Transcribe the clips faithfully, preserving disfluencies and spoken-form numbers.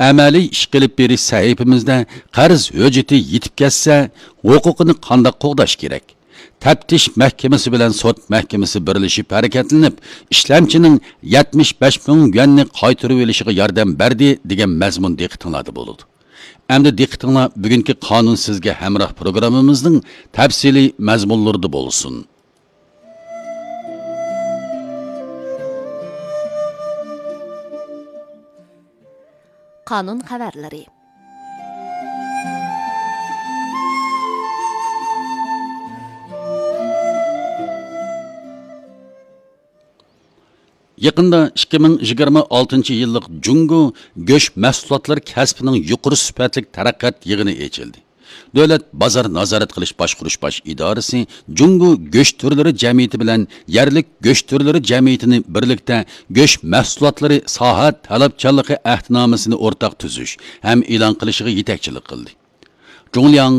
ئەمەلىي ئىش قىلىپ بېرىش سەھىپىمىزدە قەرز ھۆججىتى يېتىپ كەتسە، ھوقۇقىنى قانداق قوغداش كېرەك؟ تەپتىش مەھكىمىسى بىلەن سوت مەھكىمىسى بىرلىشىپ ھەرىكەتلىنىپ، ئىشلەمچىنىڭ يەتمىش بەش مىڭ يۈەننى قايتۇرۇۋېلىشىغا ياردەم بەردى، دېگەن مەزمۇن دىققىتىڭلاردا بولىدۇ. ئەمدى دىققىتىڭلار بۈگۈنكى قانۇن سىزگە ھەمراھ پروگراممىمىزنىڭ تەپسىلىي مەزمۇنلىرىدا بولسۇن. قانۇن خەۋەرلىرى. يېقىندا ئىككى مىڭ يىگىرمە ئالتىنچى يىللىق جۇڭگو گۆش مەھسۇلاتلىرى كەسپىنىڭ يۇقىرى سۈپەتلىك تەرەققىيات يىغىنى ئېچىلدى. دۆلەت بازار نازارەت قىلىش باشقۇرۇش باش ئىدارىسى جۇڭگو گۆش تۈرلىرى جەمئىيىتى بىلەن يەرلىك گۆش تۈرلىرى جەمئىيىتىنى بىرلىكتە گۆش مەھسۇلاتلىرى ساھە تەلەپچانلىقى ئەھدىنامىسىنى ئورتاق تۈزۈش ھەم ئېلان قىلىشىغا يېتەكچىلىك قىلدى. جۇڭلياڭ،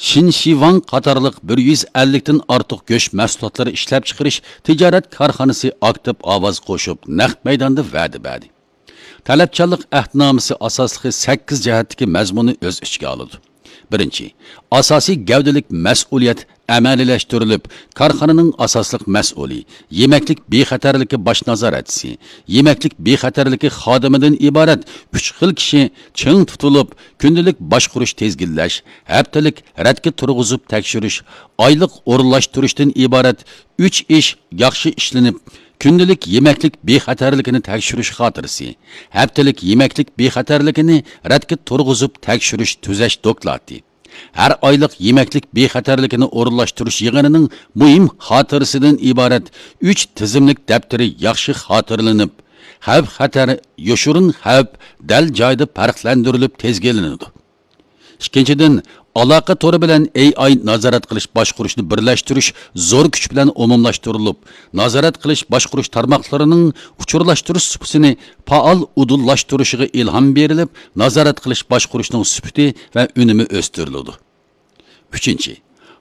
شىنشىۋاڭ قاتارلىق بىر يۈز ئەللىكتىن ئارتۇق گۆش مەھسۇلاتلىرى ئىشلەپچىقىرىش تىجارەت كارخانىسى ئاكتىپ ئاۋاز قوشۇپ، نەق مەيداندا ۋەدە بەردى. تەلەپچانلىق ئەھدىنامىسى ئاساسلىقى سەككىز جەھەتتىكى مەزمۇننى ئۆز ئىچىگە ئالىدۇ. بىرىنچى، ئاساسىي گەۋدىلىك مەسئۇلىيەت ئەمەلىيلەشتۈرۈلۈپ، كارخانىنىڭ ئاساسلىق مەسئۇلى، يېمەكلىك بىخەتەرلىكى باش نازارەتچىسى، يېمەكلىك بىخەتەرلىكى خادىمىدىن ئىبارەت ئۈچ خىل كىشى چىڭ تۇتۇلۇپ، كۈندىلىك باشقۇرۇش تىزگىنلەش، ھەپتىلىك رەتكە تۇرغۇزۇپ تەكشۈرۈش، ئايلىق ئورۇنلاشتۇرۇشتىن ئىبارەت ئۈچ ئىش ياخشى ئىشلىنىپ، كۈندىلىك يېمەكلىك بىخەتەرلىكىنى تەكشۈرۈش خاتىرىسى، ھەپتىلىك يېمەكلىك بىخەتەرلىكىنى رەتكە تۇرغۇزۇپ تەكشۈرۈش تۈزەش دوكلاتى، ھەر ئايلىق يېمەكلىك بىخەتەرلىكىنى ئورۇنلاشتۇرۇش يىغىنىنىڭ مۇھىم خاتىرىسىدىن ئىبارەت ئۈچ تىزىملىك دەپتىرى ياخشى خاتىرىلىنىپ، خەۋپ-خەتەر، يوشۇرۇن خەۋپ دەل جايىدا پەرقلەندۈرۈلۈپ تىزگىنلىنىدۇ. ئىككىنچىدىن، ئالاقە تورى بىلەن ئېي ئاي نازارەت قىلىش باشقۇرۇشنى بىرلەشتۈرۈش زور كۈچ بىلەن ئومۇملاشتۇرۇلۇپ، نازارەت قىلىش باشقۇرۇش تارماقلىرىنىڭ ئۇچۇرلاشتۇرۇش سۇپىسىنى پائال ئۇدۇللاشتۇرۇشىغا ئىلھام بېرىلىپ، نازارەت قىلىش باشقۇرۇشنىڭ سۈپىتى ۋە ئۈنۈمى ئۆستۈرۈلىدۇ. ئۈچىنچى،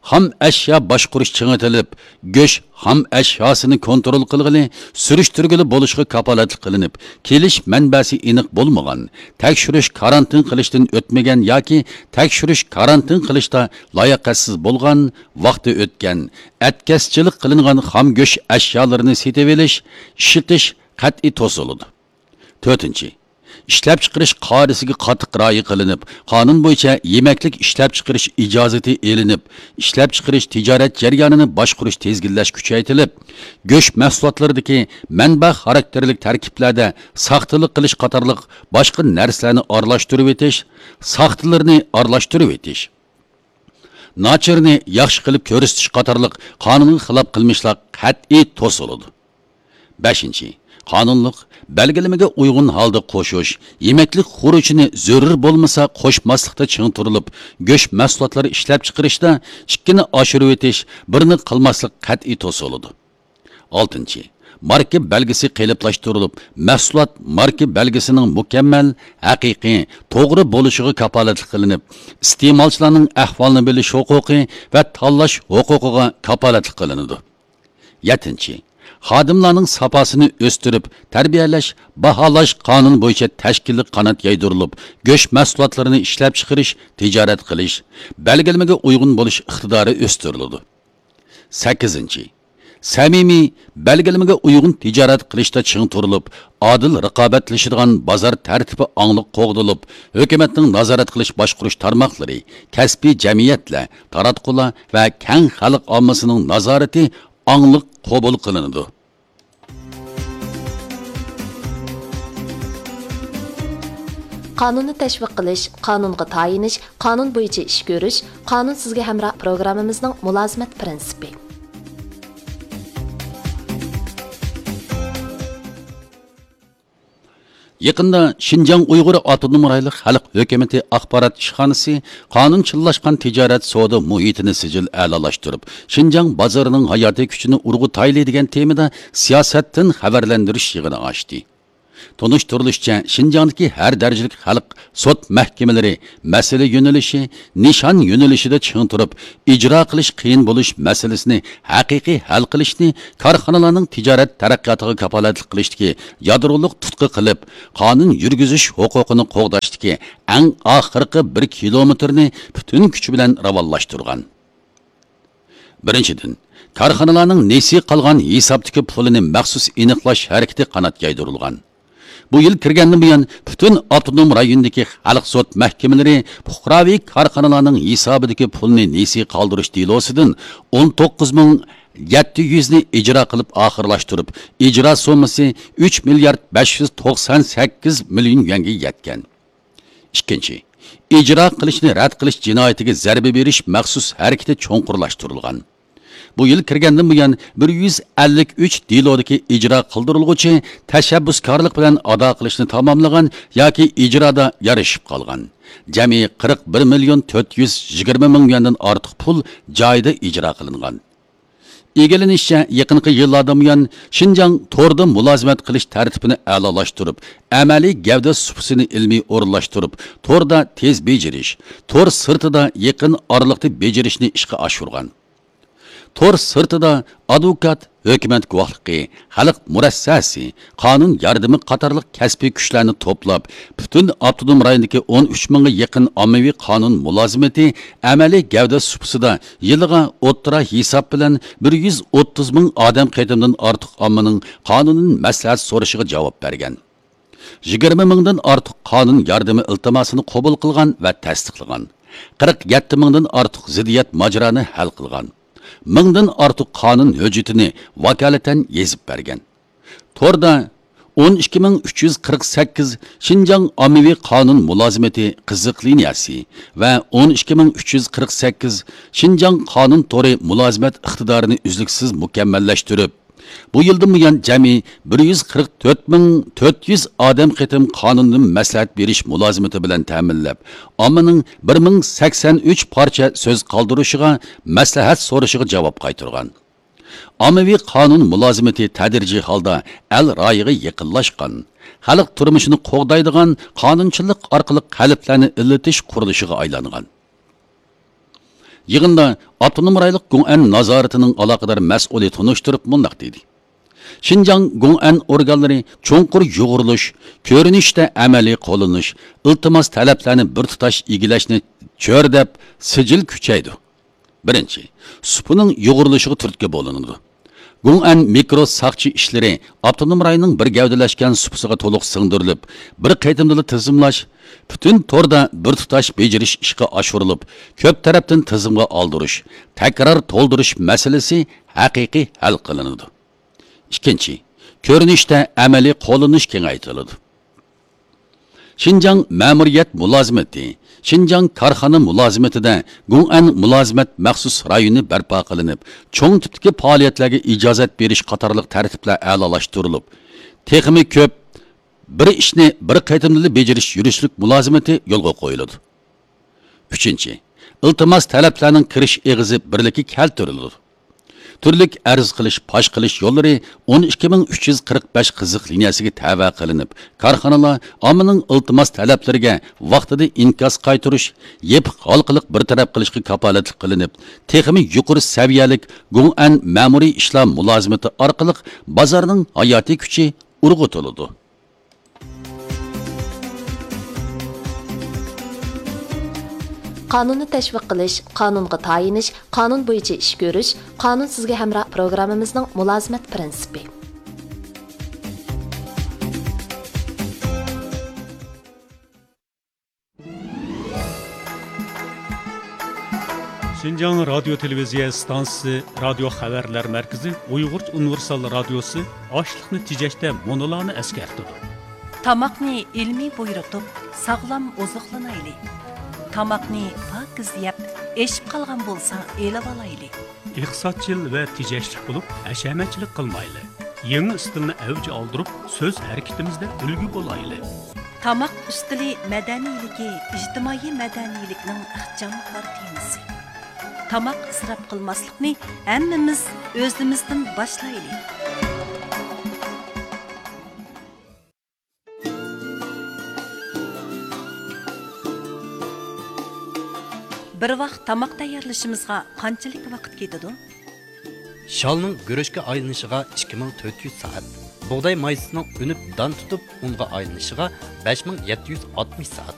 خام ئەشيا باشقۇرۇش چىڭىتىلىپ، گۆش خام ئەشياسىنى كونترول قىلغىلى، سۈرۈشتۈرگىلى بولۇشىغا كاپالەتلىك قىلىنىپ، كېلىش مەنبەسى ئېنىق بولمىغان، تەكشۈرۈش كارانتىن قىلىشتىن ئۆتمىگەن ياكى تەكشۈرۈش كارانتىن قىلىشتا لاياقەتسىز بولغان، ۋاقتى ئۆتكەن، ئەتكەسچىلىك قىلىنغان خام گۆش ئەشيالىرىنى سېتىۋېلىش، ئىشلىتىش قەتئىي توسۇلىدۇ. تۆتىنچى، ئىشلەپچىقىرىش قائىدىسىگە قاتتىق رىئايە قىلىنىپ، قانۇن بويىچە يېمەكلىك ئىشلەپچىقىرىش ئىجازىتى ئېلىنىپ، ئىشلەپچىقىرىش تىجارەت جەريانىنى باشقۇرۇش تىزگىنلەش كۈچەيتىلىپ، گۆش مەھسۇلاتلىرىدىكى مەنبە خاراكتېرلىك تەركىبلەردە ساختىلىق قىلىش قاتارلىق باشقا نەرسىلەرنى ئارىلاشتۇرۇۋېتىش، ساختىلىرىنى ئارىلاشتۇرۇۋېتىش، ناچىرنى ياخشى قىلىپ كۆرسىتىش قاتارلىق قانۇنغا خىلاپ قىلمىشلار قەتئىي توسۇلىدۇ. بەشىنچى، قانۇنلۇق بەلگىلىمىگە ئۇيغۇن ھالدا قوشۇش، يېمەكلىك خۇرۇچىنى زۆرۈر بولمىسا قوشماسلىقتا چىڭ تۇرۇلۇپ، گۆش مەھسۇلاتلىرى ئىشلەپچىقىرىشتا ئىككىنى ئاشۇرۇۋېتىش، بىرنى قىلماسلىق قەتئىي توسۇلىدۇ. ئالتىنچى، ماركا بەلگىسى قېلىپلاشتۇرۇلۇپ، مەھسۇلات ماركا بەلگىسىنىڭ مۇكەممەل، ھەقىقىي، توغرا بولۇشىغا كاپالەتلىك قىلىنىپ، ئىستېمالچىلارنىڭ ئەھۋالىنى بىلىش ھوقۇقى ۋە تاللاش ھوقۇقىغا كاپالەتلىك قىلىنىدۇ. يەتتىنچى، خادىملارنىڭ ساپاسىنى ئۆستۈرۈپ، تەربىيەلەش، باھالاش قانۇن بويىچە تەشكىللىك قانات يايدۇرۇلۇپ، گۆش مەھسۇلاتلىرىنى ئىشلەپچىقىرىش، تىجارەت قىلىش، بەلگىلىمىگە ئۇيغۇن بولۇش ئىقتىدارى ئۆستۈرۈلىدۇ. سەككىزىنچى، سەمىمىي، بەلگىلىمىگە ئۇيغۇن تىجارەت قىلىشتا چىڭ تۇرۇلۇپ، ئادىل رىقابەتلىشىدىغان بازار تەرتىپى ئاڭلىق قوغدىلىپ، ھۆكۈمەتنىڭ نازارەت قىلىش باشقۇرۇش تارماقلىرى، كەسپىي جەمئىيەتلەر، تاراتقۇلار ۋە كەڭ خەلق ئاممىسىنىڭ نازارىتى ئاڭلىق قوبۇل قىلىنىدۇ. قانۇننى تەشۋىق قىلىش، قانۇنغا تايىنىش، قانۇن بويىچە ئىش كۆرۈش، قانۇن سىزگە ھەمراھ پروگراممىمىزنىڭ مۇلازىمەت پىرىنسىپى. يېقىندا شىنجاڭ ئۇيغۇر ئاپتونوم رايونلۇق خەلق ھۆكۈمىتى ئاخبارات ئىشخانىسى قانۇنچىللاشقان تىجارەت سودا مۇھىتىنى سىجىل ئەلالاشتۇرۇپ، شىنجاڭ بازىرىنىڭ ھاياتىي كۈچىنى ئۇرغۇتايلى دېگەن تېمىدا سىياسەتتىن خەۋەرلەندۈرۈش يىغىنى ئاچتى. تونۇشتۇرۇلۇشىچە، شىنجاڭدىكى ھەر دەرىجىلىك خەلق سوت مەھكىمىلىرى مەسىلە يۆنىلىشى، نىشان يۆنىلىشىدە چىڭ تۇرۇپ، ئىجرا قىلىش قىيىن بولۇش مەسىلىسىنى ھەقىقىي ھەل قىلىشنى كارخانىلارنىڭ تىجارەت تەرەققىياتىغا كاپالەتلىك قىلىشتىكى يادرولۇق تۇتقا قىلىپ، قانۇن يۈرگۈزۈش ھوقۇقىنى قوغداشتىكى ئەڭ ئاخىرقى بىر كىلومېتىرنى پۈتۈن كۈچى بىلەن راۋانلاشتۇرغان. بىرىنچىدىن، كارخانىلارنىڭ نېسى قالغان ھېسابتىكى پۇلىنى مەخسۇس ئېنىقلاش ھەرىكىتى قانات يايدۇرۇلغان. بۇ يىل كىرگەندىن بۇيان، پۈتۈن ئاپتونوم رايوندىكى خەلق سوت مەھكىمىلىرى پۇقراۋى كارخانىلارنىڭ ھېسابىدىكى پۇلنى نېسى قالدۇرۇش دېلوسىدىن ئون توققۇز مىڭ يەتتە يۈزنى ئىجرا قىلىپ ئاخىرلاشتۇرۇپ، ئىجرا سوممىسى ئۈچ مىليارد بەش يۈز توقسان سەككىز مىليون يۈەنگە يەتكەن. ئىككىنچى، ئىجرا قىلىشنى رەت قىلىش جىنايىتىگە زەربە بېرىش مەخسۇس ھەرىكىتى چوڭقۇرلاشتۇرۇلغان. بۇ يىل كىرگەندىن بۇيان، بىر يۈز ئەللىك ئۈچ دېلودىكى ئىجرا قىلدۇرۇلغۇچى تەشەببۇسكارلىق بىلەن ئادا قىلىشنى تاماملىغان ياكى ئىجرادا يارىشىپ قالغان. جەمئىي قىرىق بىر مىليون تۆت يۈز يىگىرمە مىڭ يۈەندىن ئارتۇق پۇل جايىدا ئىجرا قىلىنغان. ئىگىلىنىشىچە، يېقىنقى يىللاردىن بۇيان، شىنجاڭ توردا مۇلازىمەت قىلىش تەرتىپىنى ئەلالاشتۇرۇپ، ئەمەلىي گەۋدە سۇپىسىنى ئىلمىي ئورۇنلاشتۇرۇپ، توردا تېز بېجىرىش، تور سىرتىدا يېقىن ئارىلىقتا بېجىرىشنى ئىشقا ئاشۇرغان. تور سىرتىدا ئادۋوكات، ھۆكۈمەت گۇۋاھلىقى، خەلق مۇرەسسەسى، قانۇن ياردىمى قاتارلىق كەسپىي كۈچلەرنى توپلاپ، پۈتۈن ئاپتونوم رايوندىكى ئون ئۈچ مىڭغا يېقىن ئاممىۋى قانۇن مۇلازىمىتى ئەمەلىي گەۋدە سۇپىسىدا يىلىغا ئوتتۇرا ھېساب بىلەن بىر يۈز ئوتتۇز مىڭ ئادەم قېتىمدىن ئارتۇق ئاممىنىڭ قانۇنىي مەسلىھەت سورىشىغا جاۋاب بەرگەن. يىگىرمە مىڭدىن ئارتۇق قانۇن ياردىمى ئىلتىماسىنى قوبۇل قىلغان ۋە تەستىقلىغان. قىرىق يەتتە مىڭدىن ئارتۇق زىددىيەت ماجىرانى ھەل قىلغان. مىڭدىن ئارتۇق قانۇن ھۆججىتىنى ۋاكالىتەن يېزىپ بەرگەن. توردا ئون ئىككى مىڭ ئۈچ يۈز قىرىق سەككىز شىنجاڭ ئاممىۋى قانۇن مۇلازىمىتى قىزىق لىنىيەسى ۋە ئون ئىككى مىڭ ئۈچ يۈز قىرىق سەككىز شىنجاڭ قانۇن تورى مۇلازىمەت ئىقتىدارىنى ئۈزلۈكسىز مۇكەممەللەشتۈرۈپ، بۇ يىلدىن بۇيان جەمئىي بىر يۈز قىرىق تۆت مىڭ تۆت يۈز ئادەم قېتىم قانۇندىن مەسلىھەت بېرىش مۇلازىمىتى بىلەن تەمىنلەپ، ئاممىنىڭ بىر مىڭ سەكسەن ئۈچ پارچە سۆز قالدۇرۇشىغا، مەسلىھەت سورىشىغا جاۋاب قايتۇرغان. ئاممىۋى قانۇن مۇلازىمىتى تەدرىجىي ھالدا ئەل رايىغا يېقىنلاشقان، خەلق تۇرمۇشىنى قوغدايدىغان قانۇنچىلىق ئارقىلىق قەلبلەرنى ئىللىتىش قۇرۇلۇشىغا ئايلانغان. يىغىندا ئاپتونوم رايونلۇق گوڭئەن نازارىتىنىڭ ئالاقىدار مەسئۇلى تونۇشتۇرۇپ مۇنداق دېدى: شىنجاڭ گوڭئەن ئورگانلىرى چوڭقۇر يۇغۇرۇلۇش، كۆرۈنۈشتە ئەمەلىي قوللىنىش، ئىلتىماس تەلەپلەرنى بىر تۇتاش ئىگىلەشنى چۆرىدەپ سىجىل كۈچەيدۇ. بىرىنچى، سۇپىنىڭ يۇغۇرۇلۇشىغا تۈرتكە بولۇنىدۇ. گوڭئەن مىكرو ساقچى ئىشلىرى ئاپتونوم رايوننىڭ بىر گەۋدىلەشكەن سۇپىسىغا تولۇق سىڭدۈرۈلۈپ، بىر قېتىمدىلا تىزىملاش، پۈتۈن توردا بىر تۇتاش بېجىرىش ئىشقا ئاشۇرۇلۇپ، كۆپ تەرەپتىن تىزىمغا ئالدۇرۇش، تەكرار تولدۇرۇش مەسىلىسى ھەقىقىي ھەل قىلىنىدۇ. ئىككىنچى، كۆرۈنۈشتە ئەمەلىي قوللىنىش كېڭەيتىلىدۇ. شىنجاڭ مەمۇرىيەت مۇلازىمىتى، شىنجاڭ كارخانا مۇلازىمىتىدە گوڭئەن مۇلازىمەت مەخسۇس رايونى بەرپا قىلىنىپ، چوڭ تىپتىكى پائالىيەتلەرگە ئىجازەت بېرىش قاتارلىق تەرتىپلەر ئەلالاشتۇرۇلۇپ، تېخىمۇ كۆپ بىر ئىشنى بىر قېتىمدىلا بېجىرىش يۈرۈشلۈك مۇلازىمىتى يولغا قويۇلىدۇ. ئۈچىنچى، ئىلتىماس تەلەپلەرنىڭ كىرىش ئېغىزى بىرلىككە كەلتۈرۈلىدۇ. تۈرلۈك ئەرز قىلىش، پاش قىلىش يوللىرى ئون ئىككى مىڭ ئۈچ يۈز قىرىق بەش قىزىق لىنىيەسىگە تەۋە قىلىنىپ، كارخانىلار ئاممىنىڭ ئىلتىماس تەلەپلىرىگە ۋاقتىدا ئىنكاس قايتۇرۇش، يېپىق ھالقىلىق بىر تەرەپ قىلىشقا كاپالەتلىك قىلىنىپ، تېخىمۇ يۇقىرى سەۋىيەلىك گوڭئەن مەمۇرىي ئىشلار مۇلازىمىتى ئارقىلىق بازارنىڭ ھاياتىي كۈچى ئۇرغۇتۇلىدۇ. قانۇننى تەشۋىق قىلىش، قانۇنغا تايىنىش، قانۇن بويىچە ئىش كۆرۈش، قانۇن سىزگە ھەمراھ پروگراممىمىزنىڭ مۇلازىمەت پىرىنسىپى. شىنجاڭ رادىيو تېلېۋىزىيە ئىستانسىسى رادىيو خەۋەرلەر مەركىزى ئۇيغۇرچە ئۇنىۋېرسال رادىيوسى ئاشلىقنى تېجەشتە مۇنۇلارنى ئەسكەرتىدۇ. تاماقنى ئىلمىي بۇيرۇتۇپ، ساغلام ئوزۇقلىنايلى. تاماقنى پاكىز يەپ، ئېشىپ قالغان بولسا ئېلىۋالايلى. ئىقتىسادچىل ۋە تېجەشلىك بولۇپ، ھەشەمەتچىلىك قىلمايلى. يېڭى ئىستىلنى ئەۋج ئالدۇرۇپ، سۆز ھەرىكىتىمىزدە ئۈلگە بولايلى. تاماق ئۈستىلى مەدەنىيلىكى ئىجتىمائىي مەدەنىيلىكنىڭ ئىخچام كارتىنىسى. تاماق ئىسراپ قىلماسلىقنى ھەممىمىز ئۆزىمىزدىن باشلايلى. بىر ۋاق تاماق تەييارلىشىمىزغا قانچىلىك ۋاقىت كېتىدۇ؟ شالنىڭ گۈرۈچكە ئايلىنىشىغا ئىككى مىڭ تۆت يۈز سائەت، بۇغداي مايسىسىنىڭ ئۈنۈپ دان تۇتۇپ ئۇنغا ئايلىنىشىغا بەش مىڭ يەتتە يۈز ئاتمىش سائەت،